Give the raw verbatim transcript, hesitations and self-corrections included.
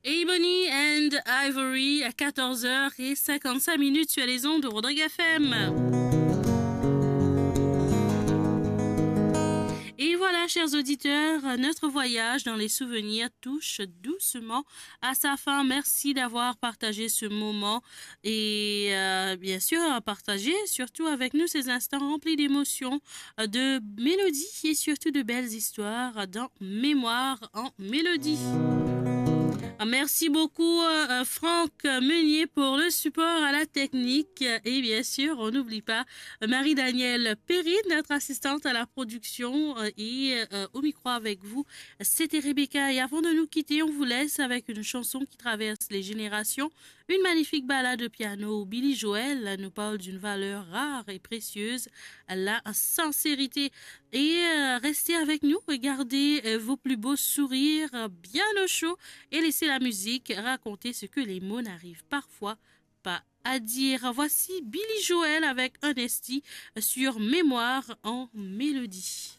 Ebony and Ivory à quatorze heures et cinquante-cinq minutes sur les ondes de Rodrigue F M. Et voilà, chers auditeurs, notre voyage dans les souvenirs touche doucement à sa fin. Merci d'avoir partagé ce moment et, euh, bien sûr, à partager surtout avec nous ces instants remplis d'émotions, de mélodies et surtout de belles histoires dans Mémoire en mélodie. Merci beaucoup, euh, Franck Meunier, pour le support à la technique. Et bien sûr, on n'oublie pas, euh, Marie-Danielle Perry, notre assistante à la production, euh, et, euh, au micro avec vous, c'était Rebecca. Et avant de nous quitter, on vous laisse avec une chanson qui traverse les générations. Une magnifique balade au piano où Billy Joel nous parle d'une valeur rare et précieuse, la sincérité. Et, euh, restez avec nous et gardez, euh, vos plus beaux sourires, euh, bien au chaud et laissez la musique raconter ce que les mots n'arrivent parfois pas à dire. Voici Billy Joel avec Honesty, euh, sur Mémoire en mélodie.